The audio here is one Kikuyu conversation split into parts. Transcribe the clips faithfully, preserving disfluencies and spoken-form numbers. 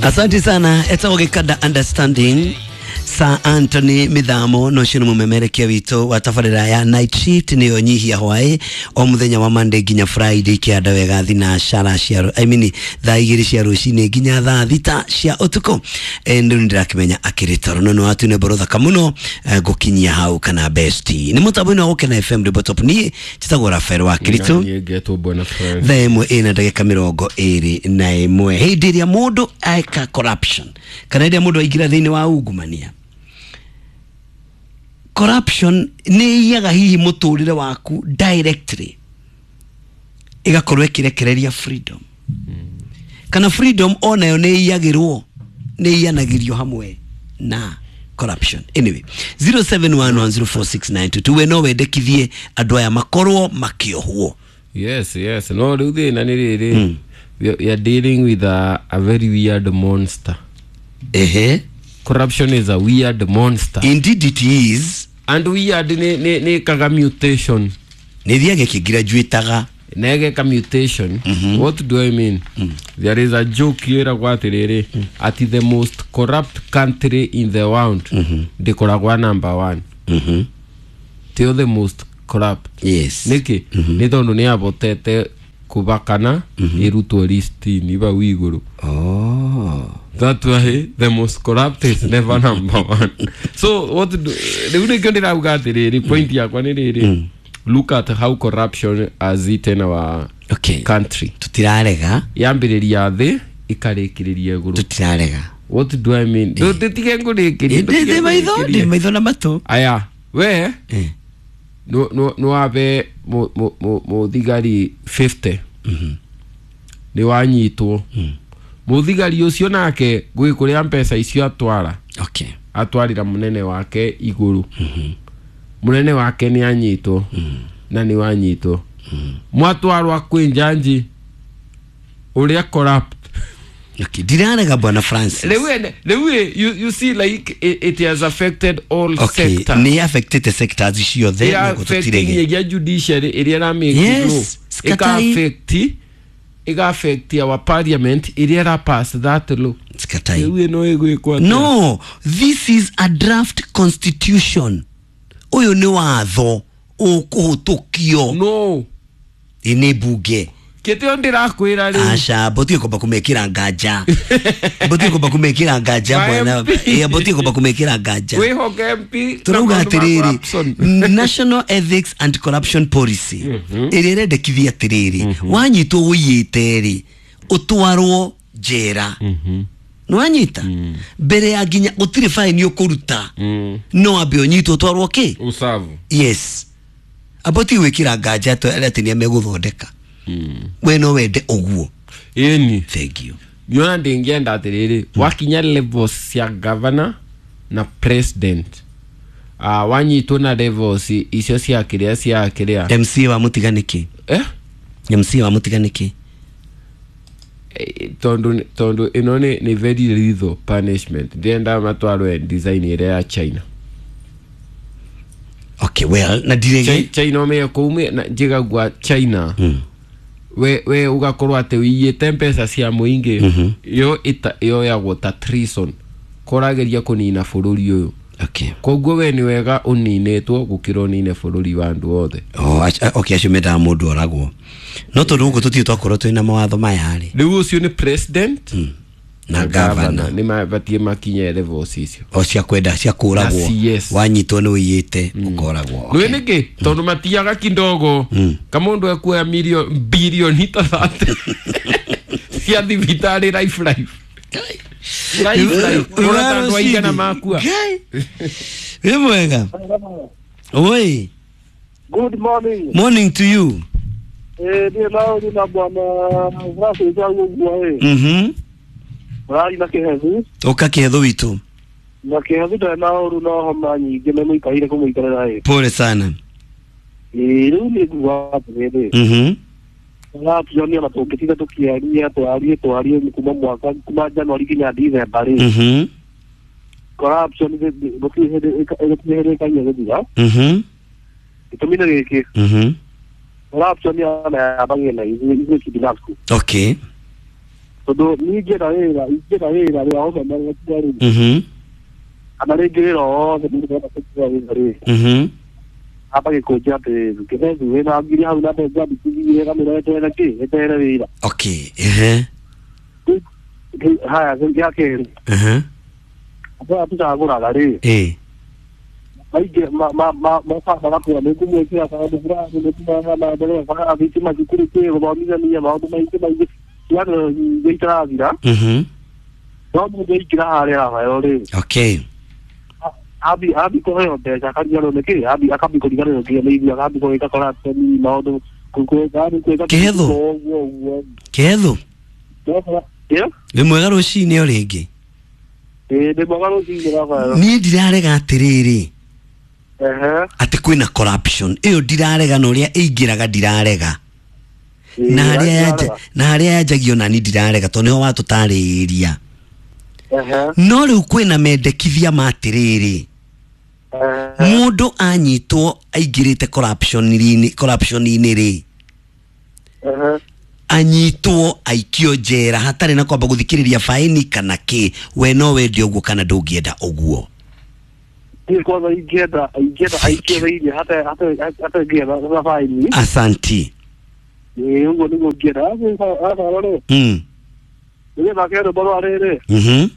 Asante sana. Etagwo Gikanda Understanding Sir Anthony Mithamo no cio nĩ mũmemerekia witũ wa tabarĩra ya night shift nĩyo nyihia hwaĩ o mũthenya wa Monday nginya Friday kĩanda wega thinacara cia I mean thaa igĩrĩ cia rũcinĩ nginya thaa thita cia ũtukũ. Eh, rĩu nĩndĩrakĩmenya akĩrĩ toro no nĩ watune mboro thaka mũno, eh, ngũkinyia hau kana besti nĩ mũtambo-inĩ wa Gũkena F M Rĩmbo Top. Niĩ njĩtagwo Rafael wa Kiritu. Niĩ ngetwo Bwana Francis. Thaa ĩmwe ĩna ndagĩka mĩrongo ĩrĩ na ĩmwe. Hĩndĩ ĩrĩa mũndũ eka corruption kana hĩndĩ ĩrĩa mũndũ aingĩra thĩinĩ wa ungumania, corruption nĩ iyaga hihi mũtũrĩre waku directly ĩgakorwo ĩkĩrekereria freedom, kana freedom onayo nĩ iyagĩrwo, nĩ iyanagĩrio hamwe na corruption. Anyway, zero seven one one zero four six nine two two, we no wendekithie andũ aya makorwo makĩohwo. Yes, yes. No rĩu thĩna nĩ rĩrĩ, we we are dealing with a, a very weird monster. Ehe. Corruption is a weird monster. Indeed it is. And weird nĩ nĩ nĩ kaga mutation. Nĩ thiaga ĩkĩgraduataga. Na ĩgeka mutation. What do I mean? There is a joke ĩragwo atĩrĩrĩ, ati the most corrupt country in the world ndĩkoragwa number one. Mhm. Tio the most corrupt. Yes. Nĩkĩ? Nĩ tondũ nĩ yabotete kũbakana ĩrutwo list-inĩ bau igũrũ. Oh. That why the most corrupt is never number one. So what do rĩu nĩkĩo ndĩrauga atĩrĩrĩ, point yakwa nĩ rĩrĩ, look at how corruption has eaten our Okay. country. Tutirarega. Yambĩrĩria thĩ ĩkarĩkĩrĩria igũrũ. Tutirarega. What do I mean? Ndũtige ngũrĩkĩrie. Ndĩ maitho, ndĩ maitho na matũ. Aya, we Eh. no no no wabe mũthigari fifty nĩ wanyitwo. Mũthigari ũcio nake gwĩ kũrĩa mbeca icio atwara. Okay. Atwarira mũnene wake igũrũ. Mũnene wake nĩ anyitwo na nĩ wanyitwo. Mwatwarwa kwĩ njanji ũrĩa corrupt. Okay, ndirarega Bwana Francis. Rĩu ene- rĩu ĩ, you, you see like it, it has affected all Okay, sectors. nĩ affected sectors ciothe na gũtũtirege. Ĩra judiciary ĩrĩa ĩramake Yes, law. sikatai. Ĩka-affect ĩga-affect our parliament ĩrĩa ĩra pass that law. Sikatai. Rĩu ĩno ĩgwĩkwo atĩa? No, this is a draft constitution. Ũyũ nĩ watho ũkũhĩtũkio No. nĩ bunge. Kĩtĩo ndĩrakwĩra rĩu. Aca, mbũtiĩ kwamba kũmekĩra nganja. Mbũtiĩ kwamba kũmekĩra nganja Ma bwana. M P. Ĩ, mbũtiĩ kwamba kũmekĩra nganja. Wĩhoke M P Turauga na maũndũ ma atĩrĩrĩ, corruption. National Ethics and Corruption Policy ĩrĩa ĩrendekithia atĩrĩrĩ, wanyitwo ũiyĩte rĩ, ũtwarwo njera. Nĩwanyita? Mbere ya nginya gũtirĩ fine ũkũruta. No wambe ũnyitwo ũtwarwo kĩ? Usavu. Yes. Aboti gwĩkĩra nganja atĩ atĩ nĩ megũthondeka. We no wende ũguo. Ĩni. Thank you. Niona ndĩngĩenda atĩrĩrĩ, wakinya levels cia governor na president, uh, wanyitwo na levels icio cia kĩrĩa cia kĩrĩa. M C wa mũtiga nĩkĩ? Eh? M C wa mũtiga nĩkĩ? Eh, tondu tondu ĩno nĩ nĩ very lethal punishment. Ndĩrenda matwarwe design ĩrĩa ya China. Okay, well, na ndirege. Chi-, China ũmenye kũu na njigagua China. Mm. We, we ugakorwo atĩ ũiyĩte mbeca cia mũingĩ, yo ĩta-, yoyagwo ta treason. Korageria kũnina bũrũri ũyũ. Okay. Koguo we nĩ wega ũninĩtwo gũkĩra ũnine bũrũri wa andũ othe. Oh, ach-, okay, acio mendaga mũndũ oragwo. No tondũ gũkũ tũtirĩ twakorwo twĩna mawatho maya rĩ. Rĩu ũcio nĩ president Mm. Na na governor. governor nĩ mabatiĩ makinye levels icio. O cia kwenda, cia kũragwo. Na C S. Wanyitwo nĩ ũiyĩte, ũkoragwo. Nĩ nĩkĩ? Tondũ matiaga kidogo. Ka mũndũ ekuoya milioni, bilioni ta thate cia thibitarĩ life life. Life life. Ũrona ta andũ aigana makua. Ngai. Wĩ mwega? Oi. Good morning. Morning to you. Eh, ndiĩ na ũru na bwana Francis ũguo ĩ. Mhm. Mũrari na kĩhethu. Ũka kĩhethu witũ. Na kĩhethu ndarĩ na ũru no homa nyingĩ nĩ mũikarĩire kũmũikarĩra ĩ. Pole sana. Ĩ, rĩu nĩ nguga atĩrĩrĩ. Mhm. Corruption ona tũngĩtinda tũkĩaria, twarie, twarie kuma mwaka, kuma January nginya December rĩ. Mhm. Corruption gũtirĩ hĩndĩ gũtirĩ hĩndĩ ĩkagia gũthira. Mhm. Gĩtũmi nĩ gĩkĩ. Mhm. Corruption ona yambagia na ithuĩ, ithuĩ kibinafsi. Okay. Tondũ niĩ ingĩenda wĩra ingĩenda wĩra wĩra wa ũmemerekia rĩ, Mhm. kana rĩngĩ wĩra o wothe mũndũ arenda kũruta wĩra rĩ, Mhm. amba gĩkũnjĩra atĩrĩrĩ, kĩbethi wĩna ngiri hau na mbeca ndikithie kamĩra weterere kĩ weterere wĩra. Okay. Ehe. Rĩu- haya gĩa kerĩ, Ehe. andũ aya tũcagũraga rĩ, Eh. maingĩ mokaga magatwĩra nĩ ngũmwĩkĩra kaũndũ fulani, nĩ kũmahe maendeleo, bara, thitima, cukuru, kĩ gũthomithania maũndũ maingĩ maingĩ cianĩro nyingĩ itarathira. Mhm. No mũndũ aingĩra harĩa Rafael rĩ, Okay. ambi ambi kũheo mbeca akariganĩrwo nĩ kĩ ambi akambi kũriganĩrwo nginya nĩ ithuĩ, akambi gwĩka corruption maũndũ gwĩka gwĩka Kĩhetho. ũguo ũguo. Kĩhetho. Ĩ Wĩ mwega rũcinĩ o rĩngĩ. Ĩ nĩ mwega rũcinĩ Rafael. Niĩ ndirarega atĩrĩrĩ Ehe. atĩ kwĩna corruption ĩyo ndirarega, na ũrĩa ĩingĩraga ndirarega, na harĩa yanja na harĩa yanjagio nani ndirarega, tondũ nĩho watũtarĩria. Ehe. No rĩu kwĩna mendekithia ma atĩrĩrĩ, Ehe. mũndũ anyitwo aingĩrĩte corruption-inĩ corruption-inĩ rĩ, Ehe. anyitwo aikio njera hatarĩ na kwamba gũthikĩrĩria faini kana kĩ. We no wende ũguo kana ndũngĩenda ũguo? Niĩ kwanza ingĩenda ingĩenda aikio thĩinĩ hata hata hata ingĩenda na faini. Asanti. Ĩ ũguo nĩguo ingĩenda Rafael rĩ, mm. nĩgetha ke rwĩmbo rwa rĩrĩ, mm-hmm.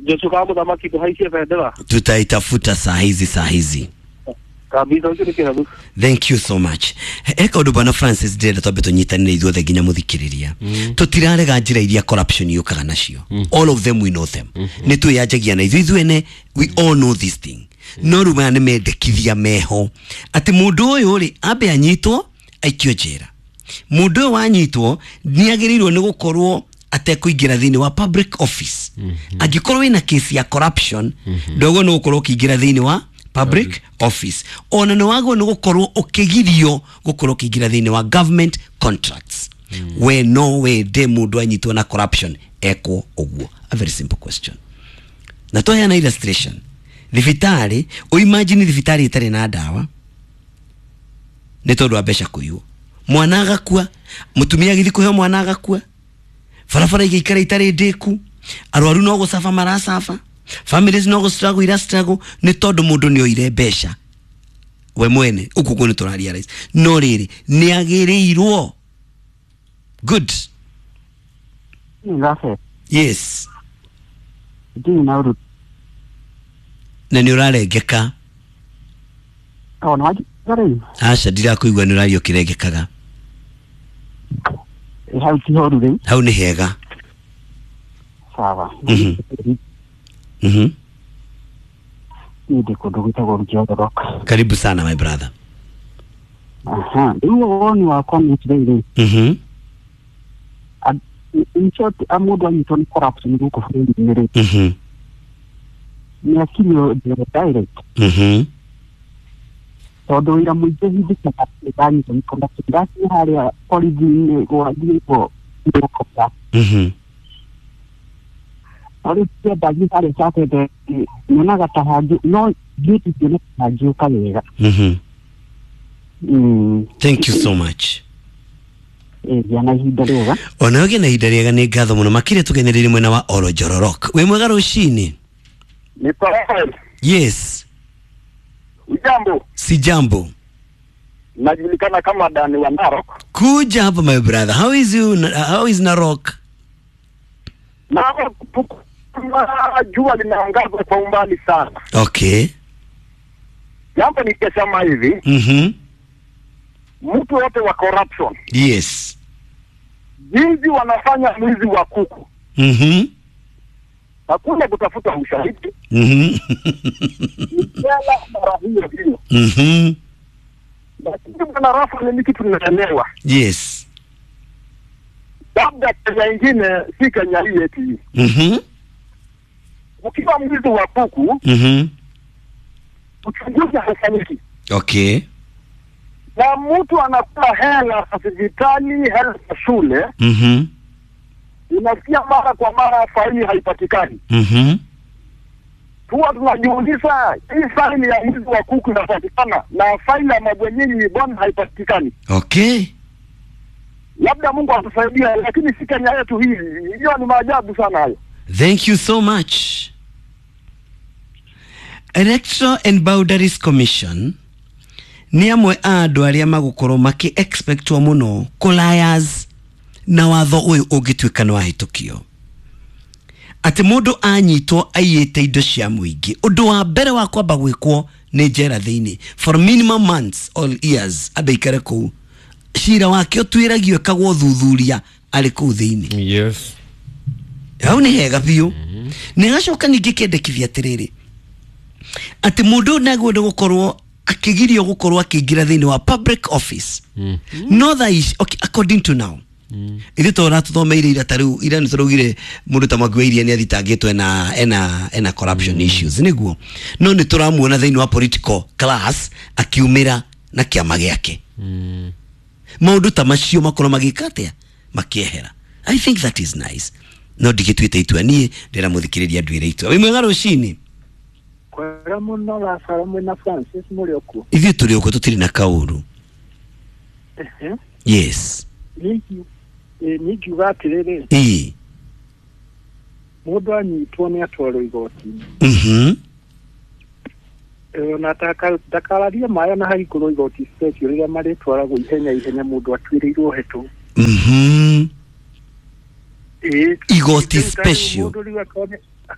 Joshua ka mũthamaki tũhaicie bendera. Tutaitafuta saa hizi saa hizi. Kabisa, ũcio nĩ kĩhethu. Thank you so much. He kaũndũ bwana Francis ndĩrenda twambe tũnyitanĩre ithuothe nginya mũthikĩrĩria. Tũtirarega njĩra iria corruption yũkaga nacio, all of them we know them, nĩ twĩyanjagia na ithuĩ ithuene, we all know this thing. No rĩu maya nĩ mendekithia meho atĩ mũndũ ũyũ rĩ ambe anyitwo aikio njera. Mũndũ ũyũ wanyitwo nĩ agĩrĩirwo nĩ gũkorwo atekũingĩra thĩinĩ wa public office. Angĩkorwo wĩna kesi ya corruption, ndogo nĩ gũkorwo ũkĩingĩra thĩinĩ wa public office, ona nĩ wagwo nĩ gũkorwo ũkĩgirio gũkorwo ũkĩingĩra thĩinĩ wa government contracts. We no wende mũndũ anyitwo na corruption ekwo ũguo? A very simple question. Na twaheana illustration thibitarĩ, ũimagine thibitarĩ ĩtarĩ na ndawa nĩ tondũ wa mbeca kũiywo, mwana agakua, mũtumia agĩthiĩ kũheo mwana agakua, barabara igĩikara itarĩ ndĩku, arwaru no gũcaba maracaba, families no gũ struggle ira struggle nĩ tondũ mũndũ nĩ oire mbeca we mwene. Ũguo guo nĩ tũra realize, no rĩrĩ nĩ agĩrĩirwo good. Rafael, Yes. ndirĩ na ũru. Na nĩ ũrarengeka. O nĩ wanjigua rĩu? Aca, ndirakũigua, nĩ ũraria ũkĩrengekaga. Ĩ hau ti horu rĩu? Hau nĩ hega. Sawa. Mhm. Mhm. Niĩ ndĩ kũndũ gwĩtagwo Rũkĩororoka. Karibu sana, my brother. Aha, rĩu woni wakwa nĩ atĩrĩrĩ, Mhm. in short, a mũndũ anyitwo nĩ corruption gũkũ bũrũri-inĩ rĩ, Mhm. nĩ akinyio njera direct, Mhm. tondũ wĩra mũingĩ hindĩkaga ndanyitwo nĩ corruption ndakinya harĩa borithi-inĩ gwathiĩtwo nĩgũkosa. Mhm. No rĩu ndathiĩ harĩa Saturday nyonaga ta hangĩ no thiĩte ngĩona ta hangĩũka wega. Mhm. Mm. Thank you so much. Ĩ gĩa na ihinda rĩega. Ona ũgĩe na ihinda rĩega, nĩ ngatho mũno makĩria. Tũgenereire mwena wa Orojororok. Wĩ mwega rũcinĩ? Ni Rafael. Yes. Ujambo. Si jambo. Najulikana kama Dani wa Narok. Kuja hapa, my brother. How is you? How is Narok? Narok kuna jua linaangaza kwa umbali sana. Okay. Jambo nikisema hivi, Mhm. mtu wote wa corruption, Yes. jinsi wanafanya mwizi wa kuku, Mhm. hakuna kutafuta ushahidi, Mhm. ni jela mara hiyo hiyo. Mhm. Lakini bwana Rafael, ni kitu tunaelewa, Yes. labda Kenya ingine si Kenya hii yetu hii. Mhm. Ukiwa mwizi wa kuku, Mhm. uchunguzi haufanyiki, Okay. na mtu anakula hela za hospitali, hela za shule, Mhm. unasikia mara kwa mara faili haipatikani. Mhm. Huwa tunajiuliza hii faili ya mwizi wa kuku inapatikana na faili ya mabwenyenyi bwana haipatikani. Okay. Labda Mungu atusaidia, lakini si Kenya yetu hii. Hiyo ni maajabu sana hayo. Thank you so much. Electoral and Boundaries Commission nĩ amwe a andũ arĩa magũkorwo makĩ expectwo mũno kũlayas na watho ũyũ ũngĩtuĩka nĩ wahĩtũkio atĩ mũndũ anyitwo aiyĩte indo cia mũingĩ ũndũ wa mbere wa kwamba gwĩkwo nĩ njera thĩinĩ for minimum months or years ambe aikare kũu cira wake ũtuĩragio ĩkagwo thuthuria arĩ kũu thĩinĩ. Yes. Hau nĩ hega biũ. Nĩ gacoka ningĩ kĩendekithia atĩrĩrĩ atĩ mũndũ nagwo gũkorwo akĩgirio gũkorwo akĩingĩra thĩinĩ wa public office. Mm. No thaa ici, okay, according to now mm. ithuĩ tũra tũthomeire ira ta rĩu ira nĩ tũraugire mũndũ ta Mwangi wa Iria nĩ athitangĩtwo ena ena ena corruption mm. issues nĩguo no nĩ tũramuona thĩinĩ wa political class akiumĩra na kĩama gĩake. Mm. Maũndũ ta macio makorwo magĩka atĩa makĩehera. I think that is nice. No ndigĩtuĩte itua niĩ ndĩramũthikĩrĩria nduĩre itua. Wĩ mwega rũcinĩ. Kwega mũno Lazaro mwĩna Francis mũrĩ okuo. Ithuĩ tũrĩ okuo tũtirĩ na kaũru. Yes. Niĩ ngiuga atĩrĩrĩ. Ĩĩ. Mũndũ anyitwo nĩ atwarwo igoti-inĩ. Mhm. Na ndakararie maĩ ona hahingũrwo igoti special rĩrĩa marĩtwaragwo ihenya ihenya mũndũ atuĩrĩirwo hetũ. Mhm. Ĩĩ. Igoti special.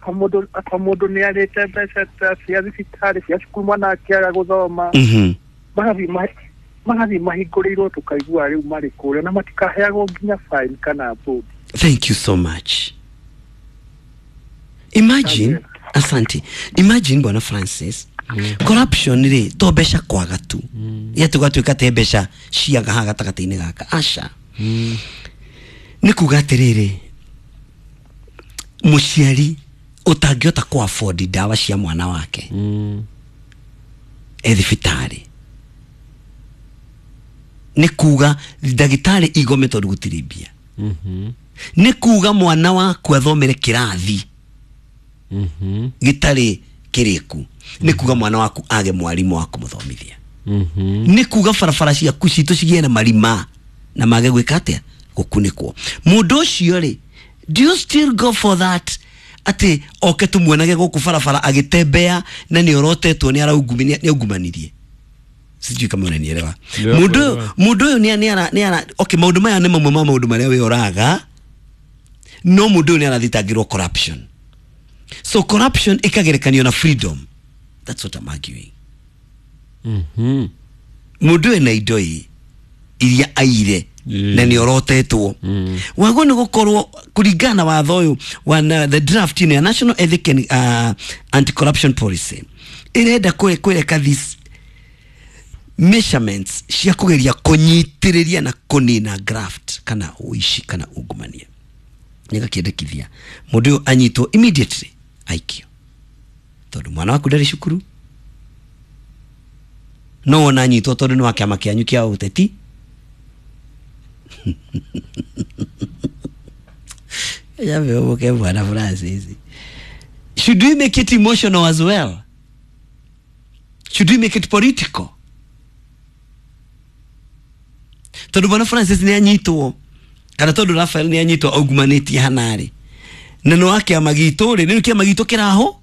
Mũndũ mũndũ nĩ arĩte mbeca cia thibitarĩ cia cukuru mwana akĩaga gũthoma. Mhm. Magathiĩ magathiĩ mahingũrĩirwo tũkaigua rĩu marĩ kũrĩa na matikaheagwo nginya fine kana bond. Thank you so much. Imagine, asante. Imagine Bwana Francis. Mm. Corruption rĩ to mbeca kwaga tu. Mm. Ya tũgatuĩka te mbeca ciaga haha gatagatĩ-inĩ gaka. Aca. Mm. Nĩ kuga atĩrĩrĩ mũciari ũtangĩhota kũ afford ndawa cia mwana wake mm. e thibitarĩ nĩ kuga ndagĩtarĩ igome tondũ gũtirĩ mbia. Mm -hmm. Nĩ kuga mwana waku athomere kĩrathi mm -hmm. gĩtarĩ kĩrĩku. Nĩ kuga mwana waku age mwarimũ wa kũmũthomithia. Mm -hmm. Nĩ kuga barabara ciaku citũ cigĩe na marima na mage gwĩka atĩa gũkunĩkwo. Mũndũ ũcio rĩ, do you still go for that atĩ oke tumuonage gũkũ barabara agĩtembea na nĩ orotetwo nĩ araungumania nĩ aungumanirie? Sijui kama unanielewa. Mũndũ mũndũ ũyũ nĩ nĩ ara nĩ ara okay maũndũ maya nĩ mamwe ma maũndũ marĩa we ũraga no mũndũ ũyũ nĩ arathitangĩrwo corruption. So corruption ikagerekanio na freedom. That's what I'm arguing. Mhm. Mũndũ ena indo ii iria aire na nĩ orotetwo. Wago nĩ gũkorwo kũringana na watho ũyũ wa the draft in National Ethic and uh, Anti-Corruption Policy ĩrenda kwĩreka these measurements cia kũgeria kũnyitĩrĩria na kũnina graft kana ũici kana ungumania. Nĩgakĩendekithia mũndũ ũyũ anyitwo immediately aikio tondũ mwana waku ndarĩ cukuru no wona anyitwo tondũ nĩ wa kĩama kĩanyu kĩa ũteti. Ya Bwana Francis. Should we make it emotional as well? Should we make it political? Tondũ Bwana Francis nĩ anyitwo kana tondũ Raphael nĩ anyitwo augumanĩtie hanarĩ na nĩ wa kĩama gitũ rĩ, nĩ kĩama gitũ kĩraho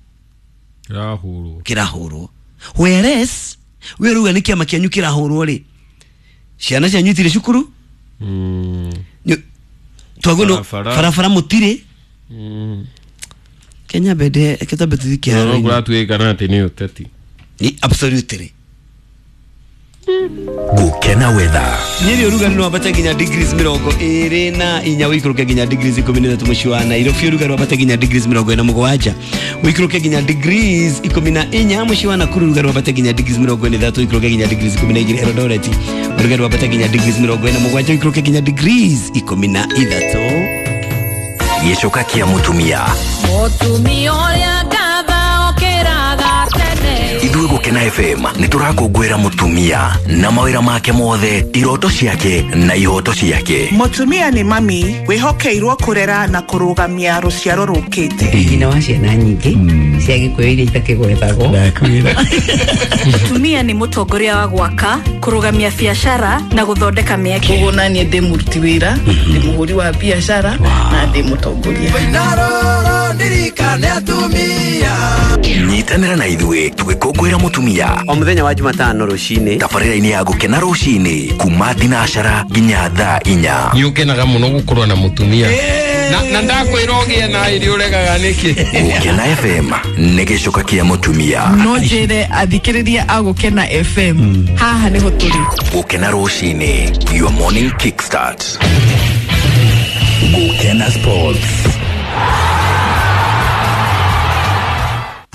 kĩrahũrwo kĩrahũrwo whereas we ruga nĩ kĩama kĩanyu kĩrahũrwo rĩ, ciana cianyu itirĩ cukuru. Mm. Twagono farafara mũtirĩ. Mm. Kenya bede kitabu tuthikia no kũratuĩka na atĩ nĩ ũteti. Ni absolutely. Gukena weather. Nyeri ũrugarĩ no wambate nginya degrees mĩrongo ĩrĩ na inya ũikũrũke nginya degrees ikũmi na ithatũ mũciĩ wa Nairobi. Ũrugarĩ wambate nginya degrees mĩrongo ĩna mũgwanja ũikũrũke nginya degrees ikũmi na inya mũciĩ wa Nakuru. Ũrugarĩ wambate nginya degrees mĩrongo ĩna ithatũ ũikũrũke nginya degrees ikũmi na igĩrĩ Eldoret. Ũrugarĩ wambate nginya degrees mĩrongo ĩna mũgwanja ũikũrũke nginya degrees ikũmi na ithatũ. Gĩcoka kĩa mũtumia mũtumia ũrĩa ngatha okĩraga tene ithuĩ Gukena F M nĩ tũrakũngũĩra mũtumia na mawĩra make mothe, iroto ciake na ihoto ciake. Mũtumia nĩ mami wĩhokeirwo kũrera na kũrũgamia rũciaro rũkĩte. Nyina wa ciana nyingĩ cia Gĩkũyũ iria itakĩgwetagwo. Mũtumia nĩ mũtongoria wa gwaka, kũrũgamia biacara na gũthondeka mĩeke. Ũguo naniĩ ndĩ mũruti wĩra, ndĩ mũhũri wa biacara na ndĩ mũtongoria. Nyitanĩra na ithuĩ tũgĩkũngũĩra mũtumia o mũthenya wa Jumatano rũcinĩ tabarĩra-inĩ ya Gũkena rũcinĩ kuma thinacara nginya thaa inya. Nĩ ũkenaga mũno gũkorwo na mũtumia na na ndakwĩra ũgĩe na irio ũregaga nĩkĩ. Gũkena F M nĩ gĩcoka kĩa mũtumia. No njĩre athikĩrĩria a Gũkena F M haha nĩho tũrĩ. Gũkena rũcinĩ, your morning kickstart. Gũkena Sports.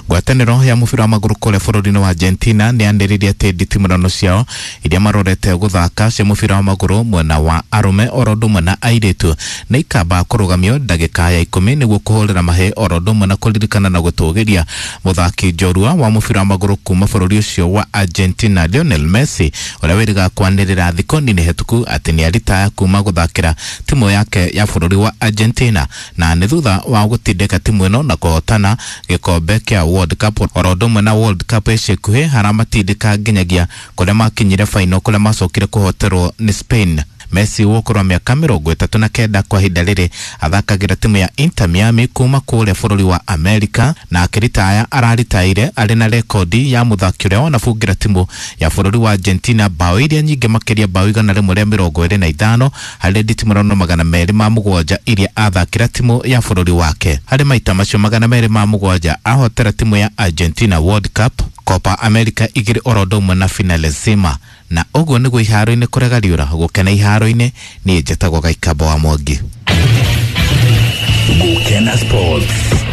Ngwatanĩro ya mũbira wa magũrũ kũrĩa bũrũri-inĩ wa Argentina nĩ yanĩrĩire atĩ nditimũrano ciao iria marorete gũthaka cia mũbira wa magũrũ mwena wa arũme oro ũndũ ũmwe na airĩtu nĩ ikamba kũrũgamio ndagĩka ya ikũmi nĩguo kũhũrĩra mahĩ oro ũndũ ũmwe na kũririkana na gũtũgĩria mũthaki njorua wa mũbira wa magũrũ kuma bũrũri ũcio wa Argentina Lionel Messi ũrĩa wĩrĩga kwanĩrĩra thikũ nini hĩtũku atĩ nĩ aritaya kuma gũthakĩra timu yake ya bũrũri wa Argentina na nĩ thutha wa gũtindĩka timu ĩno na kũhotana gĩkombe kĩa World Cup oro ũndũ ũmwe na World Cup ica ikuhĩ haramatindĩka nginyagia kũrĩa makinyire final kũrĩa macokire kũhoterwo nĩ Spain. Messi wa ũkũrũ wa mĩaka mĩrongo ĩtatũ na kenda kwa ihinda rĩrĩ athakagĩra timu ya Inter Miami kuma kũrĩa bũrũri wa Amerika na akĩritaya araritaire arĩ na rekondi ya mũthaki ũrĩa wanabungĩra timu ya bũrũri wa Argentina bao iria nyingĩ makĩria bao igana rĩmwe rĩa mĩrongo ĩrĩ na ithano harĩ nditimũrano magana merĩ ma mũgwanja iria athakĩra timu ya bũrũri wake. Harĩ maita macio magana merĩ ma mũgwanja ahotera timu ya Argentina World Cup, Copa America igĩrĩ oro ũndũ ũmwe na Finalissima. Na ũguo nĩguo iharo-inĩ kũregariũra Gũkena iharo-inĩ niĩ njĩtagwo Gaikamba wa Mwangi. Gũkena Sports.